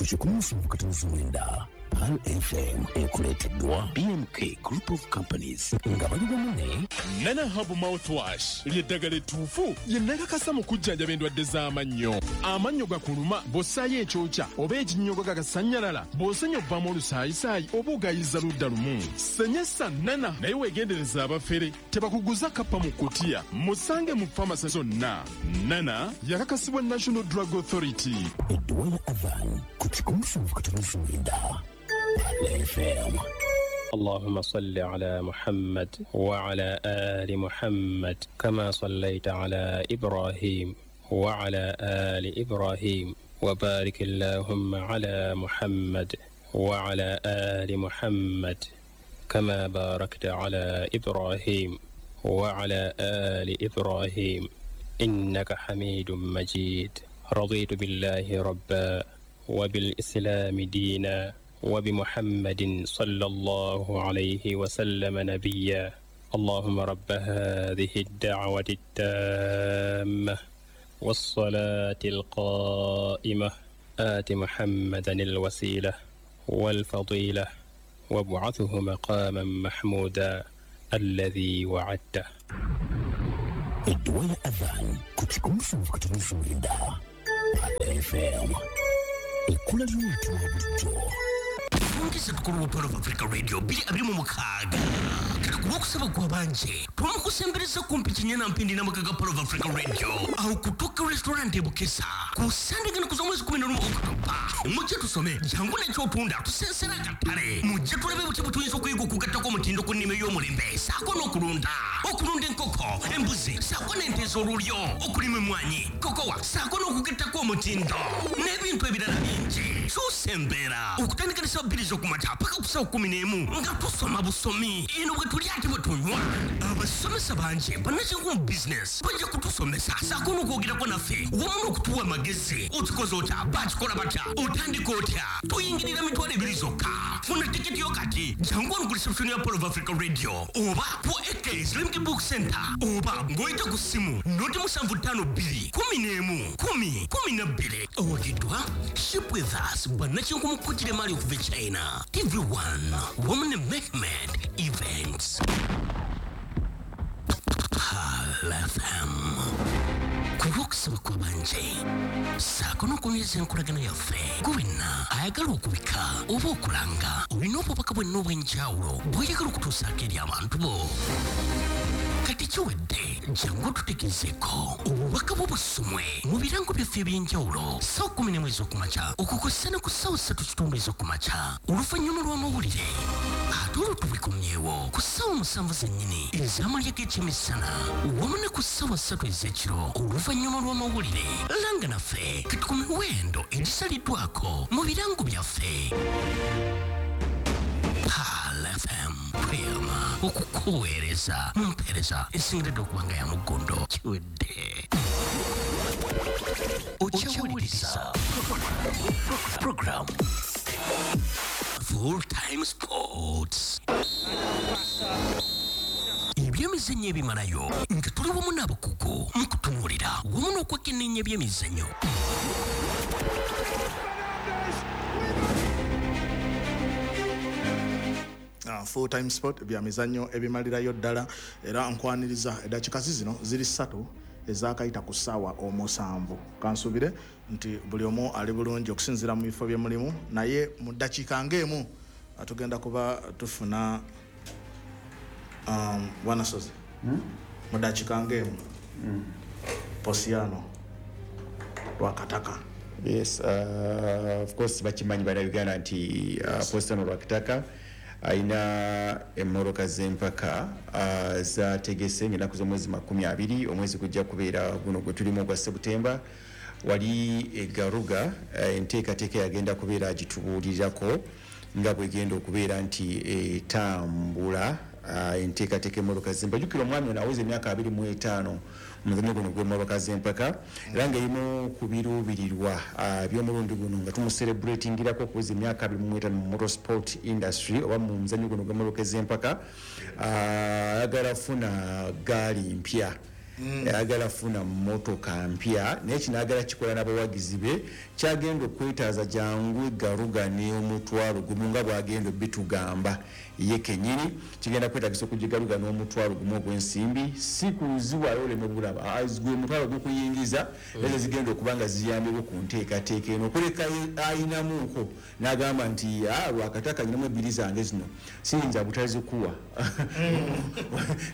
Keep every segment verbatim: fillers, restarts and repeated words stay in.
Kikumi musanvu katonozi mwenda Pearl F M ekuleeteddwa B M K Group of Companies nga bali wamu ne Nana Herbal Mouthwash lyeddagala ettuufu yenakakasa mu kujjanjaba endwadde z'amannyo. Amannyo gakuluma, bw'ossaayo ekyokya oba ekinnyogo gagasannyalala, bw'osenya ovaamu olusaayisaayi oba ogayiza ludda lumu, senyesa Nana. Naye weegendereza abafere, tebakuguza kappa mu kutiya. Musange mu famasi zonna. Nana yakakasibwa National Drug Authority. Edduwa ya Adhan ku kikumi musanvu katonozi mwenda Pearl F M. اللهم صل على محمد وعلى آل محمد كما صليت على إبراهيم وعلى آل إبراهيم، وبارك اللهم على محمد وعلى آل محمد كما باركت على إبراهيم وعلى آل إبراهيم، إنك حميد مجيد. رضيت بالله ربا، وبالإسلام دينا، وبمحمد صلى الله عليه وسلم نبيا. اللهم رب هذه الدعوة التامة والصلاة القائمة، آت محمدا الوسيلة والفضيلة، وابعثه مقاما محمودا الذي وعدته. Edduwa ya Adhan ku kikumi musanvu katonozi mwenda Pearl F M, ekkula ly'omuntu wa bulijjo. Twongeze tukulu wa Pearl of Africa Radio bbiri abiri mu mukaaga. Kati ku lwokusaba gwabanje twamukusembereza kumpi kinyana mpindi n'amaka ga Pearl of Africa Radio awo ku Tuka Restaurant e Bukesa ku Sande gano kuza omwezi kumi n'olumu Okutoba. Mujje tusome, jangu n'ekyotunda, tusensera akatale. Mujje tulabe buti bwe tuyinza okuyiga okugattako omutindo ku nnima ey'omulembe, saako n'okulunda okulunda enkoko, embuzi, saako n'ente ez'olulyo, okulima emmwanyi, kokowa, saako n'okugattako omutindo n'ebintu ebirala bingi. Kyusa embeera okutandika ne ssaawa bbiri z'okumakya paka ku ssaawa kumi n'emu nga tusoma busomi. Eno bwe tulya ate bwe tunywa. Abasomesa bangi bannakinku mu bizinesi bajja kutusomesa, saako n'okwogerako naffe wamu n'okutuwa amagezi. Okikoze otya? Bakikola batya? Otandika otya? Tuyingirira mitwalo ebiri zokka. Funa tiketi yo kati. Jangu wano ku reception ya Pearl of Africa Radio oba ku A K Islamic Book Center, oba ng'oyita ku ssimu noti musanvu ttaano bbiri kumi n'emu kumi kumi na bbiri. Owagiddwa Ship With Us, bannakinku mu kukutira emaali okuva e China, T V one wamu ne Mehmed Events. Pearl F M, ku lw'okusaba kw'abanje saako n'okunyweza enkolagana yaffe. Gwe wenna ayagala okubika oba okulanga, olina obubaka bwenna obw'enjawulo bw'oyagala okutuusaako eri abantu bo, kati kiwedde. Jangu tutegezeeko obubaka bwo busomwe mu birango byaffe ebyenjawulo ssaawa kumi n'emu ez'okumakya okukosa ne ku ssaawa ssatu kitundu ez'okumakya oluvannyuma lw'amawulire, ate olwo tubikomyewo ku ssaawa musanvu zennyini ez'amalya g'ekyemisana wamu ne ku ssaawa ssatu ez'ekiro oluvannyuma lw'amawulire. Langa naffe kati ku miwendo egisaliddwako mu birango byaffe. Pearl F M, tweyama okukuweereza mu mpeereza esingiridde okuba nga ya muggondo. Kiwedde. Okyawuliriza program Full Time Sports, ebyemizannyo ebimalayo, nga tuli wamu n'abakugu mu kutunuulira wamu n'okwekenneenya ebyemizannyo. Uh, full Time Sport, byamizannyo ebimalirayo ddala, era nkwaniriza. Eddakiika zino ziri ssatu ezakayita ku ssaawa omusanvu. Kansubire nti buli omu ali bulungi okusinziira mu bifo bye mulimu, naye mu ddakiika ng'emu tugenda kuba tufuna um, bwana Sozi, hmm? Mu ddakiika ng'emu mm. Posiano Lwakataka. Yes, uh, of course bakimanyi Bannayuganda nti uh, Posiano Lwakataka alina emmotoka z'empaka uh, zategese ng'ennaku z'omwezi makumi abiri, omwezi gujja kubeera guno gwe tulimu ogwa Sebutemba, wali egaruga. uh, enteekateeka yagenda kubeera agitubuulirako nga bwegenda okubeera nti etambula. uh, enteekateeka emmotoka z'empaka, jjukira omwami ono aweza emyaka abiri mu etaano mu muzannyo guno gw'emmotoka z'empaka, era ng'erimu ku biruubirirwa by'omulundi guno nga tumucelebratingirako okuweza emyaka abiri mu etaano mu motorsport industry oba mu muzannyo guno gw'emmotoka z'empaka, ayagala funa gaali mpya. Ayagala funa mmotoka mpya, naye kino ayagala kikola n'abawagizi be. Kyagenda okwetaaza jangu garuga n'omutwalo gumu nga bw'agenda obitugamba ye kennyini. Kigenda kwetaagisa okugigaruga n'omutwalo gumu ogw'ensimbi, si kuziwaayo oleme bulaba gwe mutwalo gukuyingiza, ezo zigenda okuba nga ziyambibwa ku nteekateeka eno. Okuleka ayinamuuko n'agamba nti Lwakataka nyinamu ebbiri zange zino siyinza butazikuwa,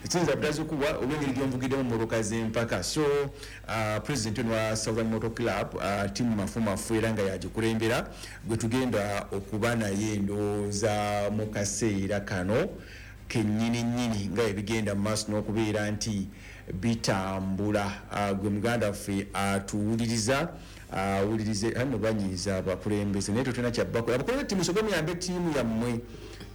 siyinza butazikuwa olw'engeri gy'onvugiddemu mmotoka z'empaka. So uh, president ono wa Southern Motor Club, uh, Timu Mafumafu, era nga yagikulembera, gwe tugenda okuba naye ndowooza mu kaseera kano kennyini nnyini nga ebigenda mu maaso n'okubeera nti bitambula. uh, gwe muganda waffe atuwuliriza, awulirize ano banyiiza abakulembeze, naye tetulina kyabbakola. Abakulembeze timusoke muyambe ttiimu yammwe,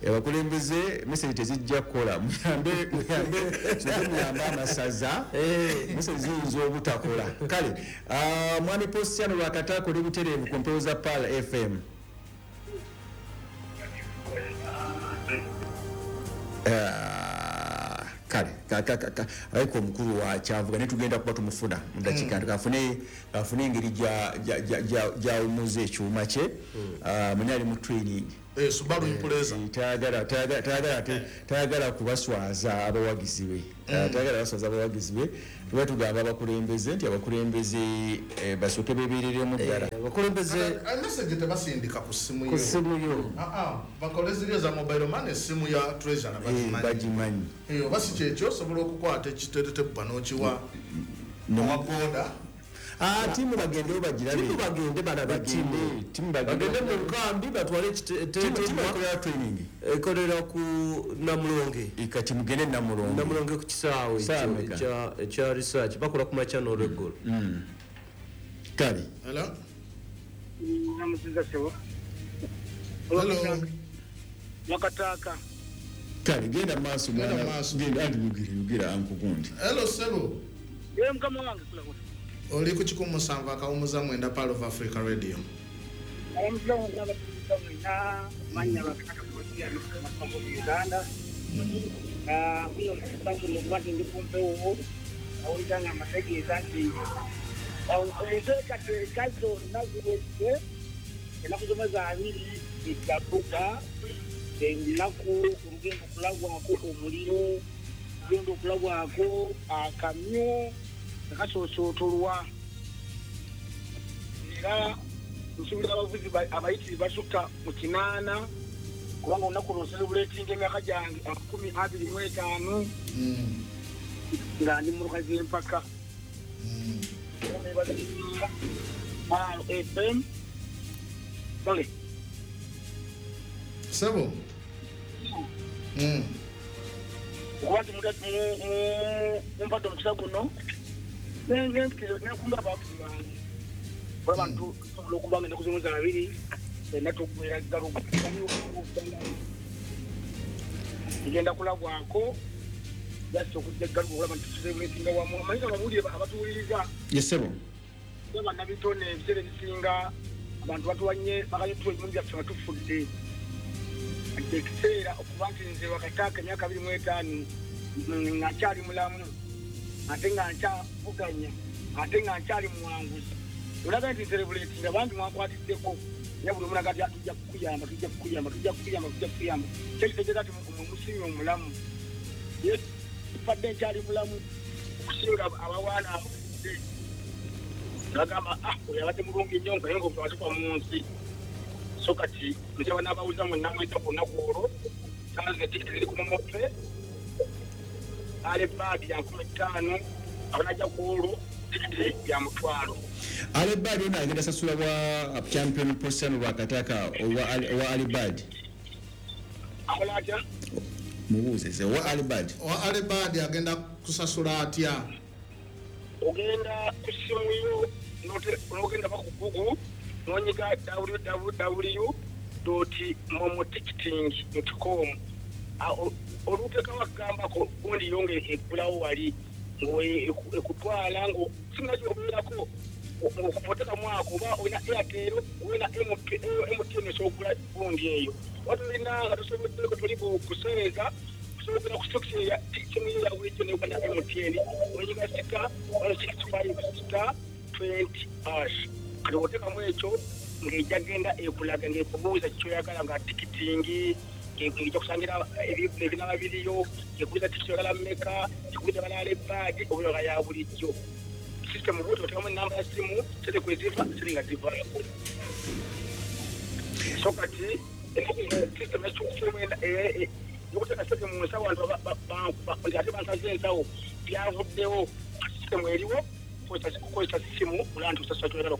abakulembeze message tezijja kukola, muyambe muyambe soke muyambe amasaza, message ziyinza obutakola. Kale uh, mwami Posiano Lwakataka oli butereevu ku mpewo za Pearl F M. Uh, kale aliko omukulu wa Kyavuga naye tugenda kuba tumufuna mu dakiika ntono, afune afune engeri gyawumuza ekyuma kye. Mwenye ali mu training eh, Subaru Impreza, tayagala tayagala tayagala kubaswaza abawagizi be, tayagala baswaza abawagizi be. Tuba tugamba abakulembeze nti abakulembeze basooke beebereremu ddala. Abakulembeze message tebasindika ku ssimu yo, ku ssimu yo ah ah bakole ziri za mobile money, essimu ya Treasure na bagimanyi bagimanyi. Eh, oba si kyekyo osobola okukwata ekiteetetebbwa n'okiwa owa boda. Ah, timu bagende bagirabe, timu bagende balabe timu timu bagende mu nkambi batwale timu ekolera training ekolera ku Namulonge, ikati mugende Namulonge, Namulonge ku kisaawe ekya ekya research bakola ku makya n'olweggulo. Kale hello namuziza sebo. Hello Lwakataka. Kale genda maaso mwana, genda andi mugire yugira ankugundi. Hello sebo. Ye mukama wange kula kula oli ku kikumi musanvu akawumuza mwenda Pearl of Africa Radio. Ennaku olugendo okulagwako omuliro, olugendo okulagwako akamyu akasoosootorwa, era nsuubira abavuzi abayitiri basukka mu kinaana, kubanga olunaku lwo nselebuletinga emyaka gyange amakumi abiri mu etaano nga ndi mu mmotoka z'empaka. F M Sorry. Sebo. Mm. Okuba nti mumpadde omukisa guno nenkumba abawagizi bange olaba nti tusobola okuba nga ennaku z'omwezi abiri fenna tuggwera galuga tugenda kulabwako just okujja galuga olaba nti tusebuletinga wamu. Amanyi nga ababuulire abatuwuliriza yesebo bannabitone ebiseera ebisinga abantu batuwanye bakayituwa ebimundu byaffe nga tufudde. Ekiseera okuba nti nze Lwakataka emyaka abiri mu etaano nga nkyali mulamu ate nga nkyavuganya ate nga nkyali muwanguzi, olaga nti nserebuletinga bangi mwankwatiddeko, era buli omu naga nti tujja kukuyamba tujja kukuyamba tujja kukuyamba tujja kukuyamba, kyekitegeeza nti mwe musimye omulamu. Ye fadde nkyali mulamu okusinga abawaana abafudde, bagamba ah oyo abadde mulungi nnyo naye ng'omutuwa mu nsi. So kati nsaba n'abawuliza mwenna mweta ku lunaku olwo, sanze tikiti ziri ku momope ale baadi ya nkumi ttaano, abanajja ku olwo tikiti ya mutwalo. Ale baadi ono agenda sasula bwa champion Posiano Lwakataka owa Ale Bad akola atya? Mubuuze ze owa Ale Bad. Owa Ale Bad agenda kusasula atya? Ogenda ku ssimu yo n'ogenda ku Google nonyiga w w w dot momoticketing dot com oluteekawo akagambako gundi yo ng'eggulawo wali ng'ekutwala ng'osinga ng'okupoteekamu ako oba olina Airtel olina M T N osobola okugula gundi eyo. Oba tolina nga tosoboddeko toli kuseereza Osobola ku simu ya bulijjo ne Uganda M T N onyiga star one six five star twenty hash. Kati oteekamu ekyo ng'ejja genda ekulaga ng'ekubuuza kyoyagala nga tikitingi ng'ejja kusangira ebinaba biriyo ekubuuza tikiti oyagala mmeka ekubuuza balala ebbaagi oba ya bulijjo. System bw'otyo oteekamu ennamba ya ssimu sente kwe ziva sente nga zivaako. So kati system ekyukufumu yokuteeka sente mu nsawo abantu ate bansaze ensawo byavuddewo. System eriwo kukozesa ssimu olaba nti osasula kyoyagala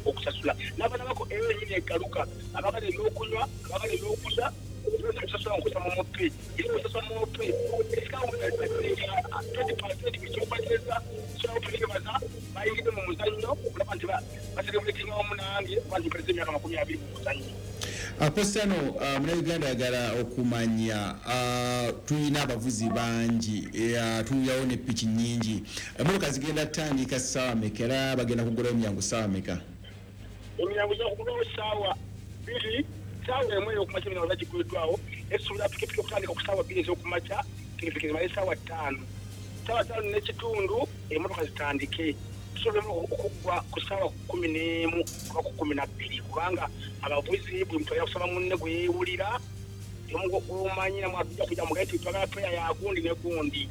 okusasula. N'abaana bako eyo yennyini eggaluka abagala ebyokunywa abagala ebyokulya okusasula nkusa mu mupi era osasula mu mupi twenty percent ekyokubatereza sobola okutegebaza bayingidde mu muzannyo okulaba nti baserebuletinga wamu nange oba nti mpereza emyaka makumi abiri mu muzannyo. Positano, Munnayuganda ayagala okumanya, tulina abavuzi bangi, tuyawo ne piki nnyingi, emmotoka zigenda kutandika ssaawa mmeka era bagenda kugulawo emiryango ssaawa mmeka? Emiryango gya kugulwawo ssaawa bbiri, ssaawa emu ey'okumakya emiryango giguliddwawo. Esuubira pikipiki okutandika ku ssaawa bbiri ez'okumakya, pikipiki zimale ssaawa ttaano. Ssaawa ttaano n'ekitundu emmotoka zitandike. Tusobola okuggwa ku ssaawa kkumi n'emu oba ku kkumi na bbiri kubanga abavuzi buli muntu ajja kusaba munne gwe yeewulira omumanyi namwe ajja kujja mugaye nti twagala peya ya gundi ne gundi.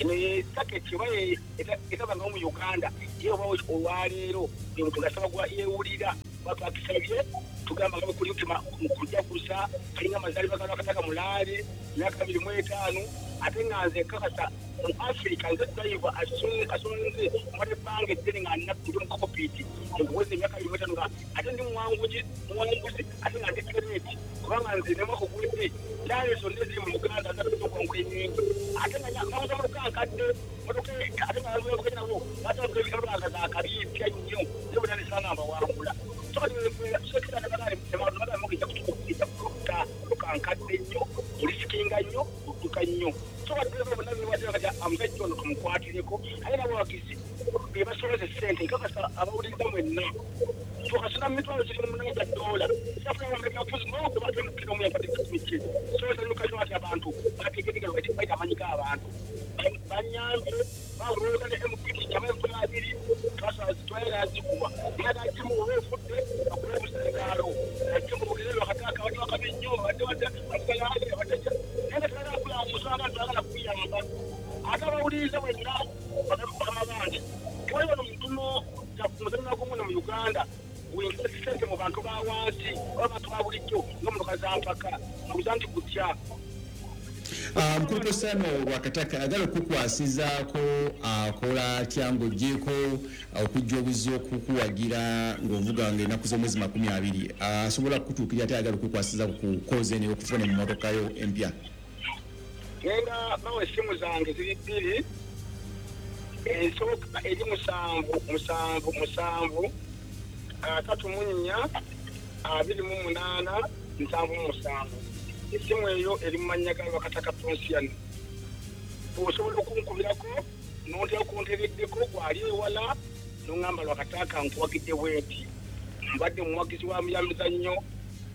Eno ye saketi oba etabangawo mu Uganda ye oba olwaleero buli muntu ng'asaba gwa yeewulira oba twakisabye tugamba nga bwe kuli nti mu kujaguza kalinga amazaalibwa ga Lwakataka Mulaale emyaka abiri mu etaano ate nga nze nkakasa mu Africa nze driver asonze mbadde ebbanga eddene nga ndi mu cockpit nkuweza emyaka abiri mu etaano nga ate ndi muwanguzi muwanguzi ate nga ndi tereti kubanga nze ne mwaka oguwedde laali zonna eziri mu Uganda zaatuuka okuwangula ennyingi ate nga nabuza motoka nkadde motoka ate nga bavuga nabo baatandika ebimotoka nga za kabi mpya nnyo naye bonna ne nsanga mbawangula. So kati ejja kutta motoka nkadde nnyo olisikinga nnyo odduka nnyo. So kati bonna beewadde kati omusajja ono tumukwatireko ate n'abawagizi be basolooza ssente nkakasa abawuliriza mwenna tukasuna mitwalo giri mu munaana gya ddoola safuna ebyobufuzi n'ogwo batemukira omu yampadde kikumi kye. So nsanyuka nnyo ati abantu bategetegera bayita amanyi g'abantu banyambye bawulooza ne M P jamu emitwalo abiri twayagala zikuwa naye ate oba ofudde bakube obusingaalo agimu bugere Lwakataka abadde wakabi nnyo abadde badde abadde naye nga tebagala kulamusa abantu bagala kuyamba ate abawuliriza bwenna bakama bange tewali wano mutuno muzannyo gumu mu Uganda wingiza ssente mu bantu ba wansi oba abantu ba bulijjo ng'emmotoka za mpaka mubuuza nti gutya. Mukulu Positano Lwakataka ayagala okukwasizaako akola atya ng'oggyeeko okujja obuzzi okukuwagira ng'ovuga ng'ennaku z'omwezi makumi abiri asobola kukutuukirira ate ayagala okukwasizaako ku kozi eno ey'okufuna emmotoka yo empya? Ngenda bawa essimu zange ziri bbiri, esooka eri musanvu musanvu musanvu asatu mu nnya abiri mu munaana nsanvu mu musanvu. Essimu eyo eri mu mannya ga Lwakataka Ponsiano. Osobola okunkubirako n'ontera kuntereddeko gwali ewala n'oŋŋamba Lwakataka nkuwagidde bwenti mbadde muwagizi wa myamizannyo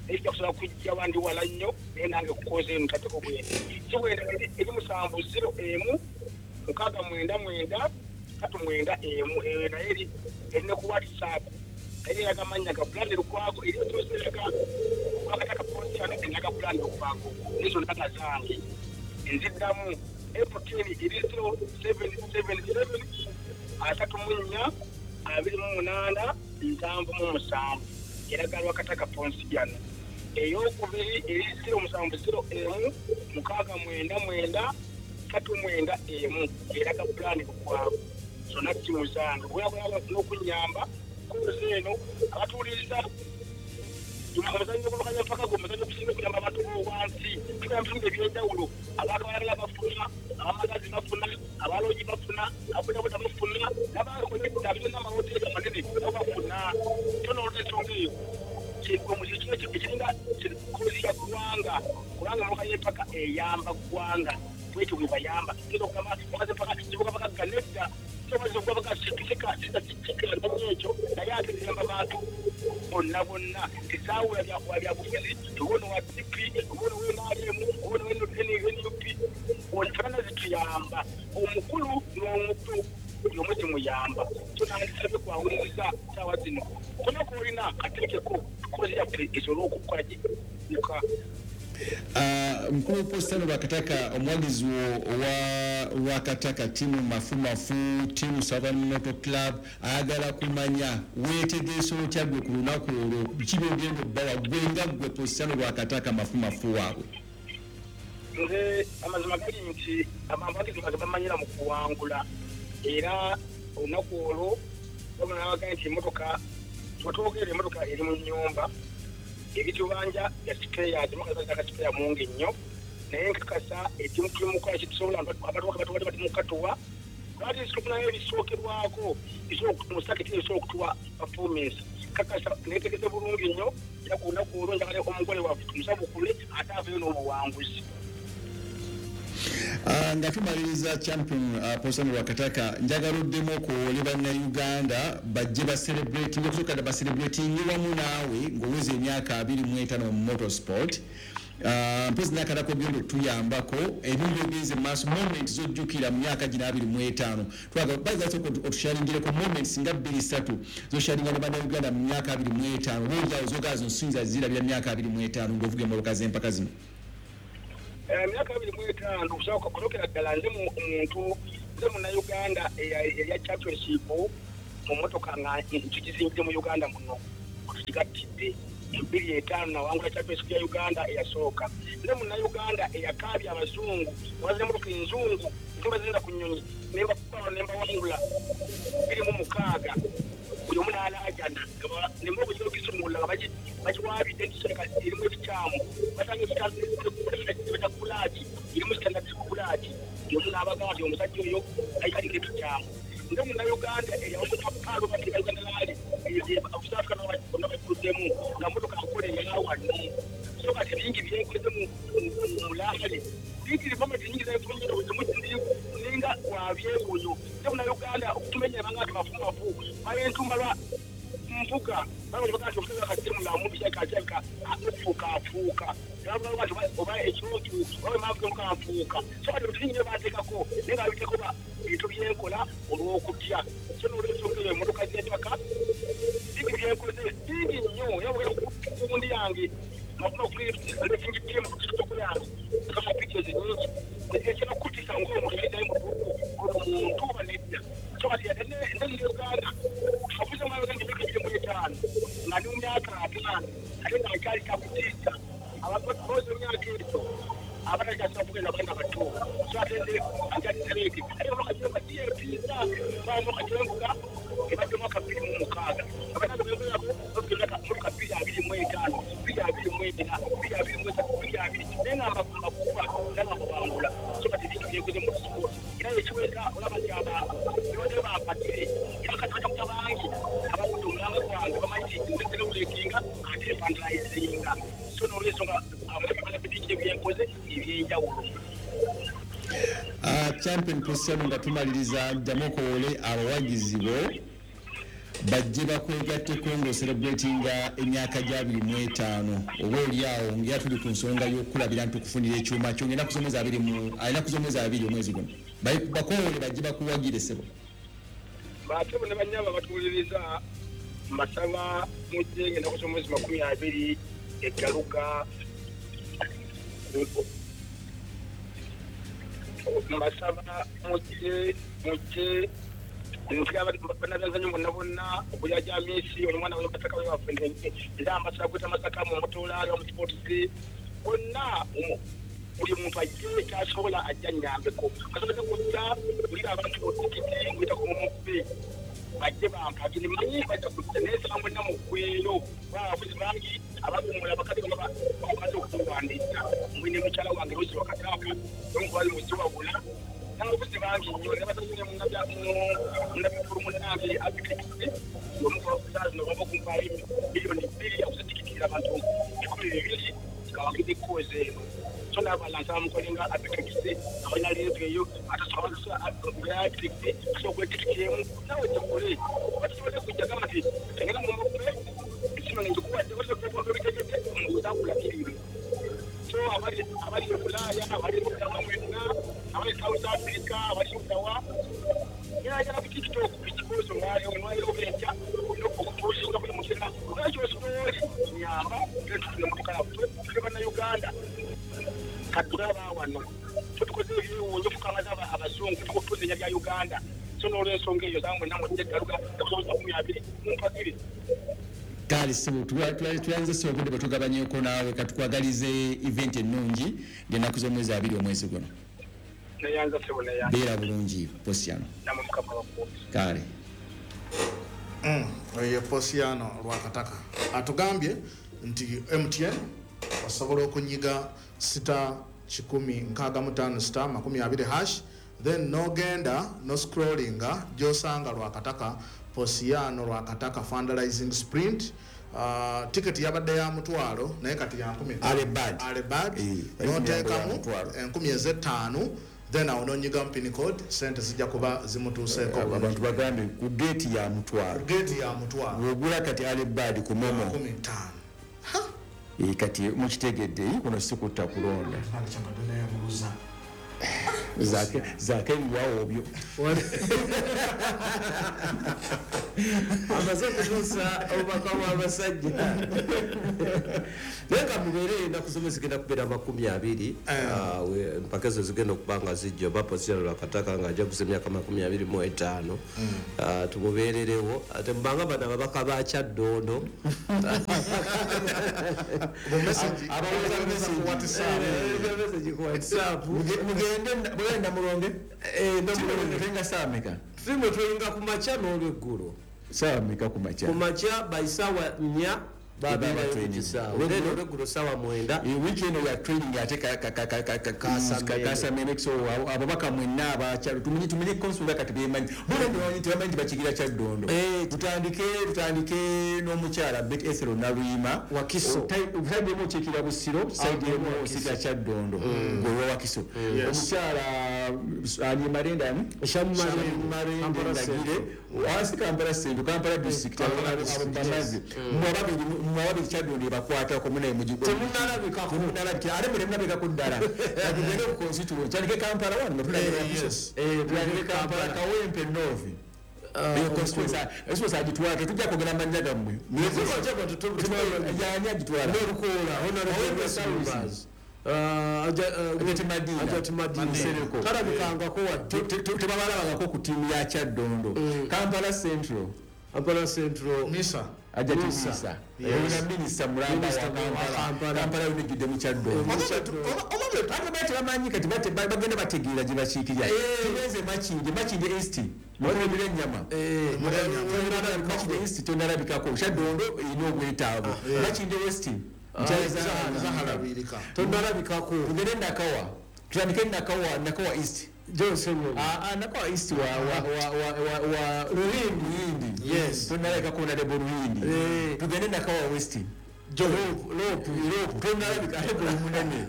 naye sijja kusobola kujja wandi wala nnyo naye nange kukoza eno ntaddeko bwenti. Si bwenda eri musanvu zero emu mukaaga mwenda mwenda tatu mwenda emu eyo naye eri eri ne ku WhatsApp naye eraga amannya ga Brand Lukwago eri eraga Lwakataka Ponsiano eraga Brand Lukwago nizo ndaga zange. Nziddamu M T N eri zero seven seven seven asatu mu nnya abiri mu munaana nsanvu mu musanvu eraga Lwakataka Ponsiano. Ey'okubiri eri zero musanvu zero emu mukaaga mwenda mwenda tatu mwenda emu eraga Brand Lukwago. Zonna ssimu zange bweyagala n'okunnyamba kozi eno abatuwuliriza omuzannyo gw'olukanya mpaka gwo omuzannyo gusinga okuyamba abantu b'owansi tugamba ebitundu eby'enjawulo abantu abalala bafuna abamagazi bafuna abaloogi bafuna ababodaboda bafuna n'abakonekita abalina amawoteeri amanene nabo bafuna. So n'olwensonga eyo ekiringa kozi ya ggwanga kubanga emmotoka y'empaka eyamba ggwanga bwetyo bwe bayamba. Tuyinza okugamba emmotoka z'empaka zivuga bagagga nedda ekyo naye ate ziyamba bantu bonna bonna tezaawula byabufuzi oba ono wa D P oba ono wa N R M oba ono wa N U P Zimuyamba omukulu n'omuto buli omu zimuyamba. So nandisabye kwawuliriza ssaawa zino kona koolina kateekeko kozi yaffe esobole okukola gika. Mukulu Positano Lwakataka, omuwagizi owa Lwakataka tiimu mafumafu, tiimu Southern Motor Club, ayagala kumanya weetegeesa otya gwe ku lunaku olwo, biki by'ogenda obbawa gwe nga gwe Positano Lwakataka mafumafu waabwe? Nze amazima gali nti abawagizi bange bamanyira mu kuwangula, era olunaku olwo babona nti emmotoka twetwogerera emmotoka eri mu nnyumba ebitubanja ya sipeya, emmotoka zaka sipeya mungi nnyo, naye nkakasa ekimu tuli mu kukola kyetusobola, abatuwaka batuwadde bati mu katuwa lwaki tufunayo ebisookerwako mu saketi ebisobola okutuwa performance. Kakasa neetegese bulungi nnyo, era ku lunaku olwo njagala omugole waffe tumusabukule ate aveeyo n'obuwanguzi. Nga tumaliriza champion Positano Lwakataka, njagala oddemu okuwole bannayuganda bajje bacelebrating, okusooka dda bacelebrating wamu naawe ng'oweza emyaka abiri mu etaano mu motorsport. Mpozi n'akalala k'ogenda otuyambako ebintu byogenze mu maaso, moments z'ojjukira mu myaka gino abiri mu etaano, twagala otusharingireko moments nga bbiri ssatu z'osharinga ne bannayuganda mu myaka abiri mu etaano, oba oliawo z'ogala zino siyinza zirabira myaka abiri mu etaano ng'ovuga emmotoka z'empaka zino. Emyaka abiri mu etaano okusooka kusookera ddala nze muntu nze munnayuganda eya championship mu mmotoka nga tugizimbidde mu Uganda muno tugigattidde bbiri etaano nawangula championship ya Uganda eyasooka. Nze munnayuganda eyakaabya abazungu nabaza emmotoka enzungu nzimba ku nnyonyi nembakuba nembawangula bbiri mu mukaaga buli omu n'alaajana nemmotoka gino gisumulula nga bagiwaabidde nti kirabika erimu ebikyamu, basanga ekibeta kulaaki erimu standard kulaaki, buli omu n'abagamba nti omusajja oyo aliko ebikyamu. Nze munnayuganda eyawangula paalo bateka Uganda Rally South Africa bonna bagikuddemu nga mmotoka nkola eyawano. So kati bingi byenkoze mu rally bingi momenti nyingi ninga wabyewuunyo. Nze munnayuganda okutumenya ebanga nti mafumafu bayentumba lwa mvuga babaga nti omusajja kati mulamu kirabika kirabika okufuuka afuuka oba ekintu oba emavuga nfuuka. So kati ebintu bingi nnyo banteekako naye nga babiteekako bintu byenkola olw'okutya. So n'olwensonga eyo emmotoka z'empaka bingi byenkoze bingi nnyo, era bwogenda ku gundi yange racing team ku TikTok yange kama pictures nyingi ekyakutiisa ng'omuntu yayitayo mu ono muntu oba nedda. So kati nze munnayuganda avuze mu Uganda emyaka ebiri mu etaano nga ndi mu myaka ataano ate nga nkyali kyakutiisa abantu booza emyaka egyo abatakyasobola kugenda abaana bato. So ate nze ankyalisereeke ate emmotoka gyenvuga giyeetiisa emmotoka gyenvuga ebadde mwaka bbiri mu mukaaga abaana benvugako bavuga emmotoka bbiri abiri mu etaano bbiri abiri mu ena bbiri abiri mu esatu bbiri abiri naye nga mbakuba era nga mbawangula. So kati ebintu byenkoze mu sport era ekiweza olaba nti ababiwadde bampagire era kati bajja bangi abagudde omulanga gwange bamanyi nti nze celebratinga ate fundraisinga. So n'olwensonga abalabi bingi byenkoze ebyenjawulo. Champion Positano, nga tumaliriza ddamu okowole abawagizi bo bajje bakwegatteko ng'ocelebratinga emyaka gya abiri mu etaano, oba oliawo ngera tuli ku nsonga y'okukulabira nti okufunira ekyuma kyo ng'ennaku z'omwezi abiri mu ennaku z'omwezi abiri omwezi guno, bakowole bajje bakuwagire ssebo. Batebo ne bannyabo abatuwuliriza mbasaba mujje ng'ennaku z'omwezi makumi abiri eggaluka, mbasaba mujje mujje bannabyanzanyo bonna bonna okulya gya misi ono mwana Masaka waffe nze ambasaba kweta Masaka mu motolaali mu sports bonna buli muntu ajje ekyasobola ajja nnyambeko asobole kujja bulira abantu otikiti nguyita ku mumubbe bajje bampagire manyi bajja kujja naye nsaba mwenna muggweyo abavuzi bangi abakuumula abakadde bonna bamaze okuwandiika mwine mukyala wange Rose Lwakataka n'omukwali Muziwabula n'abavuzi bangi nnyo ne basazine munnabikulu munnange Architect omukubakuza zino bava okumpaayo miliyoni bbiri akuzitikitira abantu ebikumi bibiri kawagidde kkozi eno. So n'abalala nsaba mukolenga Architect abalina leevu eyo ate asobola okwetikiti emu naawe gikole oba tusobole kujja gamba nti engenda mu mubbe esimu ngikuwadde obitegedde omuzakulabirire. So abali abali e Bulaaya abali mwenna abali South Africa Uganda katulaba wano tutukoze ebiwunzo tukamaza abazungu tukutuze bya Uganda so n'olwensonga eyo zangu namwe njegaluga kusobola kumi abiri mumpagire kale sibu tuyanze sibu obudde bwe tugabanyeko naawe katukwagalize event ennungi ng'ennaku z'omwezi abiri omwezi guno neyanza sibu neyanza beera bulungi Posiano namwe mukama wakuumi kale oyo Posiano Lwakataka atugambye nti M T N osobola okunyiga sita kikumi nkaaga mu ttaano sita makumi abiri hash then nogenda no scrollinga gyosanga Lwakataka Posiano Lwakataka fundraising sprint uh, ticket yabadde ya mutwalo naye kati ya nkumi alebad alebad noteekamu enkumi ez'ettaano then awo nonyiga pin code sente zijja kuba zimutuuseeko abantu bagambe ku gate ya mutwalo gate ya mutwalo ogula kati alebad ku momo nkumi ttaano e kati mukitegedde kuno si kutta kulonda zake zake biwawo obyo amaze kutuusa obubaka bw'abasajja naye nga mubeere ennaku zomwe zigenda kubeera makumi abiri empaka ezo zigenda okuba nga zijja oba Posiano Lwakataka nga ajaguza emyaka makumi abiri mu etaano tumubeererewo ate mubanga bano ababaka ba Kyaddondo ku WhatsApp mugende mugenda mulonge tenga saameka tulimu tulinga ku makya n'olweggulo saameka ku makya ku makya by saawa nnya olweggulo saawa mwenda wiiki eno ya training ate kasameme so ababaka mwenna abakyalo tumenye tumenye konsula kati bemanyi bona tebamanyi nti bakigira Kyaddondo tutandike tutandike n'omukyala Bet Ethel Naluyima Wakiso saidi emu okiikira Busiro saidi emu okiikira Kyaddondo gwe Wakiso omukyala ani Marenda ani Marenda Ndagire wansi Kampala Central Kampala District abo bamaze mwababiri mwababiri Kyaddondo bakwatako munaye mugigo temunalabikako temunalabika ate mwe temunalabikako ddala tugende ku constituency tandike Kampala wano yes tandike Kampala Kawempe North eyo constituency constituency agitwala tetujja kwogera mannya gammwe yani agitwala n'olukoola honorable South Ajati Madina talabikangako wadde tebabalabangako ku ttiimu ya Kyaddondo Kampala Central Kampala Central Misa Ajati Misa oyina minisita mulamba wa Kampala Kampala yonna ejjudde mu Kyaddondo ate bati bamanyi kati bagenda bategeera gye bakiikirira tugenze Makindye Makindye East mukulembera ennyama Makindye East tonalabikako Kyaddondo erina obwetaavu Makindye West tonalabikako tugende Nakawa tutandike Nakawa Nakawa East Johnson ah Nakawa East wa wa wa wa wa Ruhindi yes tonalabikako honorable Ruhindi tugende Nakawa West Lopu Lopu tonalabika ate gwe munene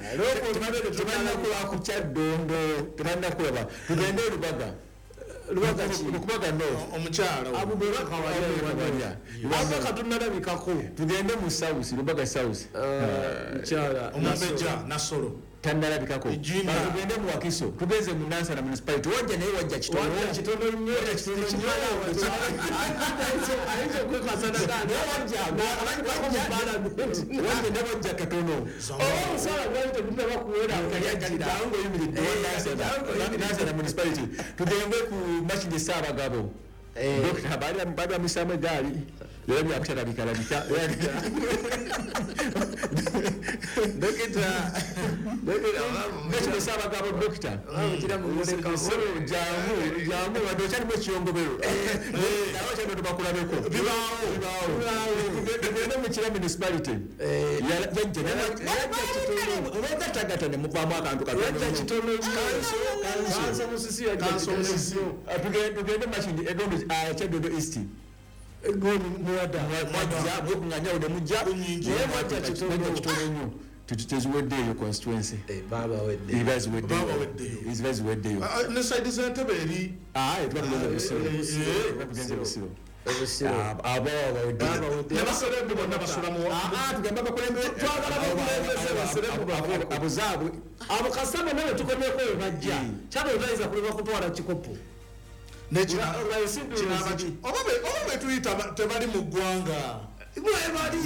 tebannakulaba ku Kyaddondo tebannakulaba tugende Lubaga Lubaga ki Lubaga North omukyala Abubakar Kawalya Abubakar tonalabikako tugende mu South Lubaga South mukyala omumbejja Nasolo tannalabikako tugende mu Wakiso tugenze mu Nansana municipality wajja naye wajja kitono wajja kitono nnyo wajja kitono nnyo ayinza okwekasa naganda wajja wajja ne wajja katono oba omusaala gwali tegunnaba kuwera jangu oyimiridde Nansana municipality tugende ku Makindye Ssaabagabo Dokita baali bamusaamu eggaali era byakutalabika Dokita Dokita Ssaabagabo dokita jangu jangu wadde okyalimu ekiyongobero nawe okyalimu tubakulabeko bibaawo tugende mu Kira municipality yajja obagatagata ne muvaamu akantu katono tugende Makindye egondo Kyaddondo East mwajja mwekunganya ode mujja naye mwajja kitono nnyo teziweddeeyo constituency babaweddeba ziba ziweddeyo ne saidi z'entebe eri tuba tugenze Busiro tugenze Busiro abo ne baserebu bonna basula mu tugamba abakulembeze twagala abakulembeze baserebu baveko abo zaabwe abo kasita nawe tukomyeko we bajja Kyaddondo tayinza kulema kutwala kikopo oba betuyita tebali mu ggwanga Mwebali.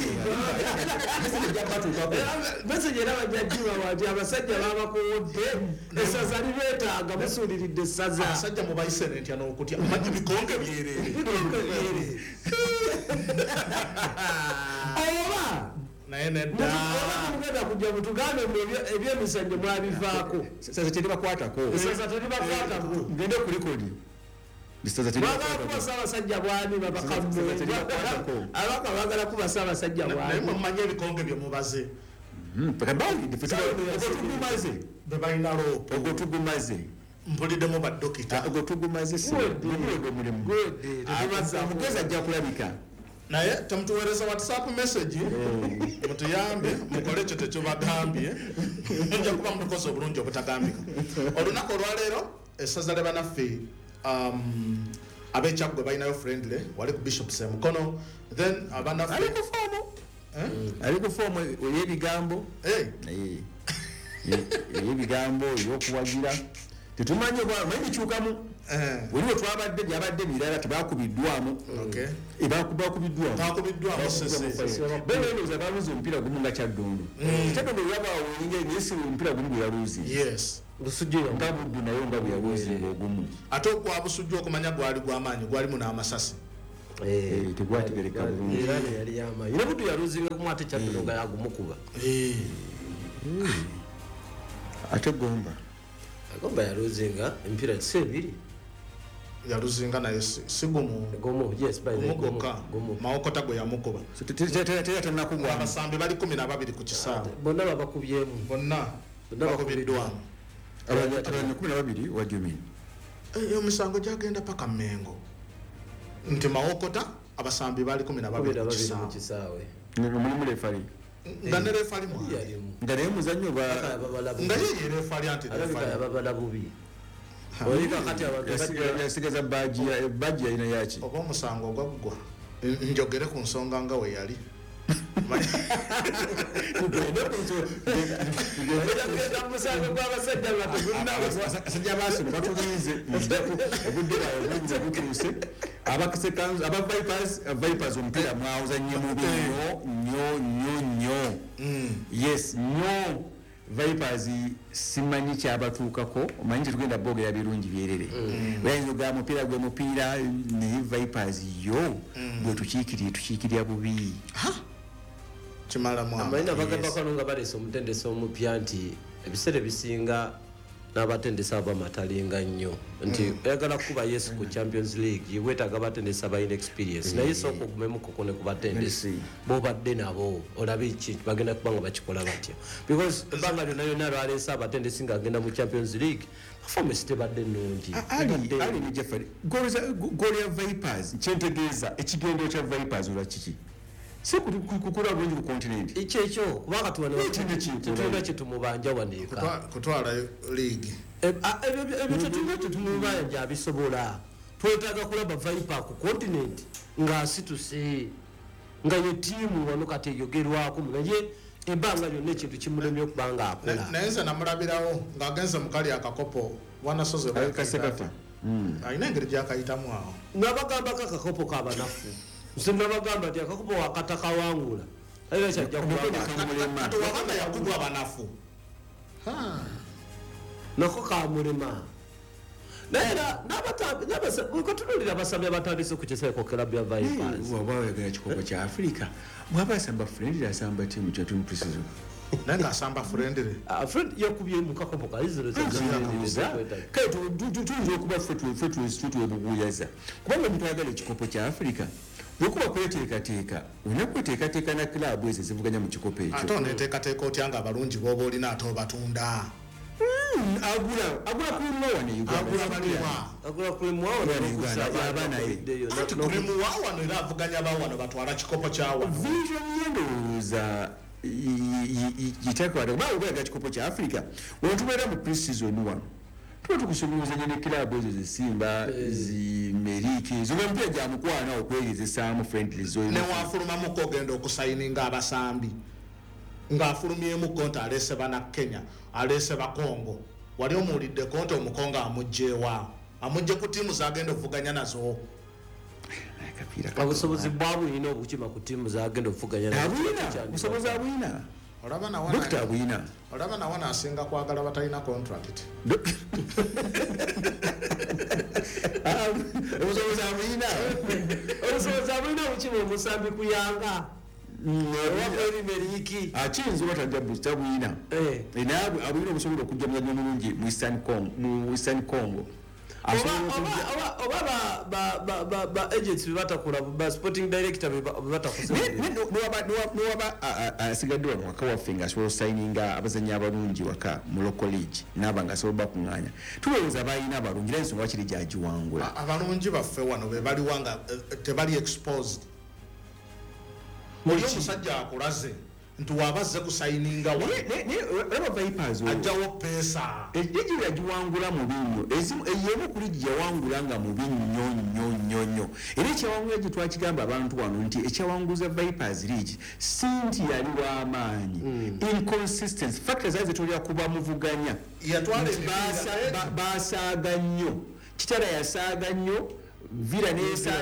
Message era bajja wati abasajja babakuwodde essaza libeetaaga musuuliridde essaza. Abasajja mubayise n'entya n'okutya omanyi bikonge byereere. Bikonge byereere. Oba naye nedda. Oba mugenda kujja mutugambe ebyemizannyo mwabivaako. Essaza teribakwatako. Essaza teribakwatako. Ngende ku likodi. Bagala kuba ssaabasajja bwani babakammwe. Abaka bagala kuba ssaabasajja bwani. Naye mumanyi ebikonge bye mubaze. Ogwo tugumaze. Be balina loopo. Ogwo tugumaze. Mpuliddemu badokita. Ogwo tugumaze si. Guwedde omulimu. Omugezi ajja kulabika. Naye temutuweereza WhatsApp message mutuyambe mukole ekyo tekyobagambye. Mujja kuba mutukoze obulungi obutagambika. Olunaku olwaleero essaza lya bannaffe um ab'Ekyaggwe balinayo friendly wali ku Bishop Semukono, then abannaffe ali ku foomu ali ku foomu ey'ebigambo ey'ebigambo ey'okuwagira tetumanyi omanyi bikyukamu wali we twabadde byabadde birala tebakubiddwamu bakubiddwamu bakubiddwamu baluze omupiira gumu nga Kyaddondo. Kyaddondo yabaawo naye si omupiira gumu gwe yaluze. Yes. Nga Buddu nayo nga bwe yaluzinga ogumu. Ate ogwa Busujju okumanya gwali gw'amaanyi gwalimu n'amasasi. Tegwategereka bulungi. Era yali y'amaanyi. Ne Buddu yaluzinga gumu ate Kyaddondo nga yagumukuba. Ate Gomba. Gomba yaluzinga emipiira si ebiri. Yaluzinga naye si gumu. Gumu, yes, by the gumu. Gumu. Mawokota gwe yamukuba. Tera tannakugwamu. Abasambi bali kumi na babiri ku kisaawe. Bonna babakubyemu. Bonna bakubiddwamu. Abazannyi kumi na babiri, what do you mean? Emisango gyagenda paka Mmengo. Nti Mawokota abasambi bali kumi na babiri ku kisaawe. Mulimu referee. Nga ne referee mwali. Nga naye muzannyo ba nga ye ye referee anti referee. Yababala bubi. Yasigaza baji baji yalina yaki. Oba omusango ogwaggwa njogere ku nsonga nga we yali. Abasajja baasono batulinze obudde bwabwe butuuse. Aba Vipers Vipers omupiira mwawuzannye mubi nnyo nnyo nnyo nnyo. Yes, nnyo. Vipers simanyi kyabatuukako omanyi tetugenda boogera birungi byerere. Oyinza ogamba mupiira gwe mupiira naye Vipers yo bwe tukiikirira tukiikirira bubi. Kimalamu amanyi abagambako nga baleese omutendesi omupya nti ebiseera ebisinga n'abatendesi abamatalinga nnyo nti oyagala kuba Yesu ku Champions League weetaaga abatendesi abalina experience naye sooka ogumemuko ne ku batendesi b'obadde nabo olabe ki bagenda kuba nga bakikola batya because ebbanga lyonna lyonna lwaleese abatendesi ng'agenda mu Champions League performance tebadde nnungi. Ali ne Jeffrey goal ya Vipers kyentegeeza ekigendo kya Vipers olwa kiki? Si kukula bulungi ku continent. Ekyo ekyo kubanga tetulina kye tumubanja wano eka. Kutwala league. Ebyo tetulina kye tumubanja abisobola. Twetaaga kulaba Viper ku continent ng'asituse nga ye ttiimu wano kati eyogerwako naye ebbanga lyonna ekintu kimulemye okuba ng'akola. Naye nze namulabirawo ng'agenze mu kali akakopo wanasoze Kasekafa. Alina engeri gy'akayitamu awo. Nabagambako akakopo k'abanafu. Nze nabagamba nti akakopo wakatakawangula. Era kyajja kubanga. Ate wagamba yakubwa abanafu. Nako kamulema. Naye era n'abatunuulira abasambi abatandise ku kiseeko club ya Vipers. Bw'oba oyagala kikopo kya Africa, bw'aba asamba friendly asamba ttiimu kya tuni pre-season. Naye ng'asamba friendly. Friend yakubye mu kakopo ka Israel. Kale tuyinza okuba ffe twebuguuyaza. Kubanga omuntu ayagala ekikopo kya Africa bw'okuba kweteekateeka olina kweteekateeka na club ezo ezivuganya mu kikopo ekyo. Ate oneeteekateeka otya nga abalungi b'oba olina ate obatunda? Agula agula kulimu wano Uganda. Agula baliwa. Agula kulimu wano aba naye. Ati kulimu wano era avuganya ba wano batwala kikopo kya wano. Vision ye ndowooza giteekwa kuba obeera kikopo kya Africa. Wetubeera mu pre-season wano tuba tukusobolozanya ne club ezo zisimba zimeriki zo emipiira gya mukwano okwegezesaamu friendly zo. Ne wafulumamuko ogenda okusayininga abasambi ng'afulumyemu nti aleese bana Kenya aleese Bakongo wali omuwuliddeko nti Omukongo amugyewa amugye ku ttiimu z'agenda okuvuganya nazo. Obusobozi bwabulina obukima ku ttiimu zagenda okuvuganya abulina obusobozi abulina. Olaba nawana Dokita abulina. Olaba nawana asinga kwagala batalina contract. Obusobozi abulina. Obusobozi abulina obukima omusambi kuyanga. Akiyinza oba tajja tabulina. Naye abulina obusobola okujja muzannyo omulungi mu Eastern Congo mu Western Congo. Oba ba ba ba agents bebatakula ba sporting director bebatakuza. Nowaba asigadde wano waka waffe nga asobola osayininga abazannyi abalungi waka mu local league n'aba nga asobola bakuŋŋaanya. Tulowooza balina abalungi era ensonga wakiri gy'agiwangula. Abalungi baffe wano be baliwa nga tebali exposed. Oli omusajja akulaze nti wabazze kusayininga wa. Olaba Vipers ajjawo pesa. Ejiji yagiwangula mubi nnyo. Ezimu ey'emu ku ligi yawangula nga mubi nnyo nnyo nnyo nnyo. Era ekyawangula gye twakigamba abantu wano nti ekyawanguza Vipers League si nti yali w'amaanyi. Inconsistency factors zaali zetolera kuba muvuganya. Yatwala basaaga nnyo. Kitara yasaaga nnyo. Villa nesa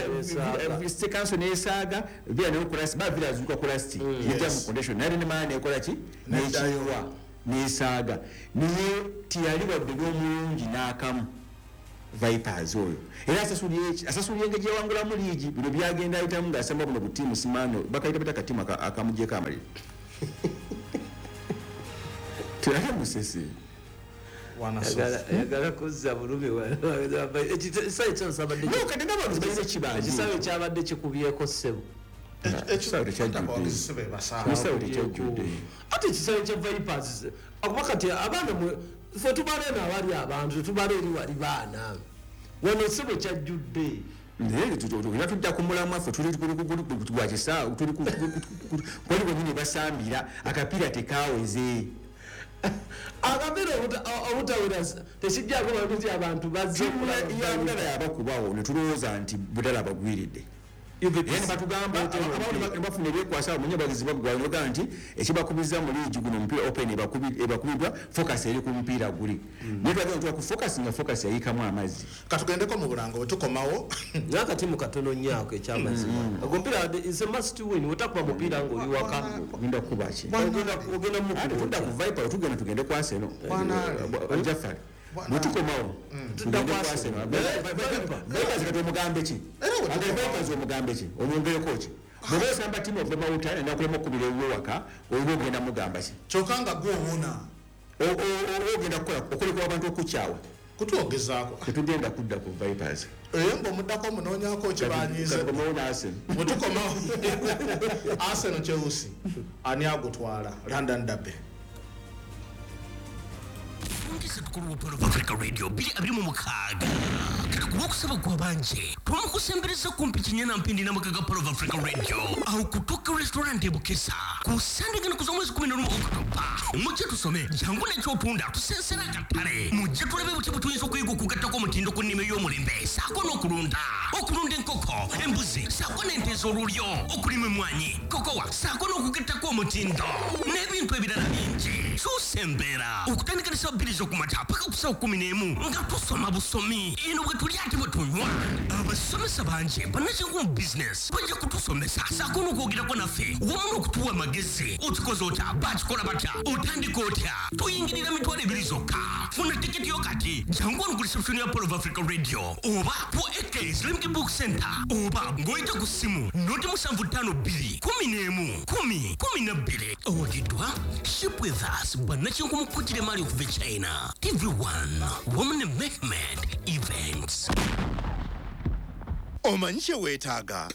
Council nesaaga Villa ne kurasi ba Villa azuka kurasi yajja mu condition nali ne maana ekola ki nekiwa nesaaga niye tiyali wadde n'omulungi n'akamu Vipers oyo era asasuliye asasuliye engeri gyewangula mu liigi bino byagenda ayitamu ng'asamba buno butiimu simaano bakayita bata katimu akamugyeko amaliri teyali musese. Yagala kuzza bulumi ekisawe kyabadde ekisawe kyabadde kikubyeko ssebo. Ekisawe tekyajjudde. Ate ekisawe kya Vipers akuba kati abaana ffe tubala eno awali abantu tubala eri wali baana wano ssebo kyajjudde. Naye era tudda ku mulamwa ffe tuli gwa kisaawe tuli kwali bwennyini basambira akapiira tekaaweze. Akapiira obutawera tekijjako baluti abantu bazze okulaba yabakubawo ne tulowooza nti budala bagwiridde. Era batugamba abamu bafuna ebyekwasa omunye bagizi baggwayo ne nti ekibakubiza mu liigi guno omupiira open ebakubiddwa focus eri ku mupiira guli. Naye twagala tuwa ku focus nga focus yayikamu amazzi. Katugendeko mu bulango bwe tukomawo. Naye akatimu katono nnyo ako ekyamazima. Ogwo omupiira is a must win. Otakuba mupiira ng'oli waka. Ogenda kukuba ki? Ogenda ogenda mukuba. Ate tudda ku Viper tugenda tugende ku Arsenal. Jafari. Bwe tukomawo tugende ku Arsenal. Vipers kati omugambe ki? Ate Vipers omugambe ki? Omwongereko ki? Bw'oba osamba ttiimu okuva mawuta nakulema okukubira ewuwe waka oba ogenda mugamba ki? Kyokka nga gwe owona. Ogenda kukola okolekwa abantu okukyawa. Kutwogezaako. Tetugenda kudda ku Vipers. Eyo ng'omuddako omunoonyaako kibanyiize. Katukomawo ne Arsenal. Bwe tukomawo Arsenal Chelsea ani agutwala London Derby. Africa Radio biri abiri mu mukaaga kulwokusaba gwabanje twamukusembereza kumpi kinyana mpindi n'amakaga Pearl of Africa Radio aho kutoka restaurant ebukesa ku Sunday gano kuza mwezi kumi na lumu Oktoba mujje tusome jangu n'ekyotunda tusensera akatale mujje tulabe buti butuyinza okuyiga okugattako omutindo ku nnima ey'omulembe saako n'okulunda okulunda enkoko embuzi saako n'ente ez'olulyo okulima emmwanyi kokowa saako n'okugattako omutindo n'ebintu ebirala bingi kyusa embeera okutandika ne ssaawa bbiri z'okumakya paka ku ssaawa kkumi n'emu nga tusoma busomi eno bwe tulya ate bwe tunywa abasomesa bangi bannakinku mu bizinesi bajja kutusomesa saako n'okwogerako naffe wamu n'okutuwa amagezi okikoze otya bakikola batya otandika otya tuyingirira mitwalo ebiri zokka funa tiketi yo kati jangu wano ku reception ya Pearl of Africa Radio oba ku A K Islamic Book Center oba ng'oyita ku ssimu noti musanvu ttaano bbiri kumi n'emu kumi kumi na bbiri owagiddwa Ship with us bannakinku mu kkutira emaali okuva e China T V one wamu ne Mehmed Events. Omanyi kye weetaaga?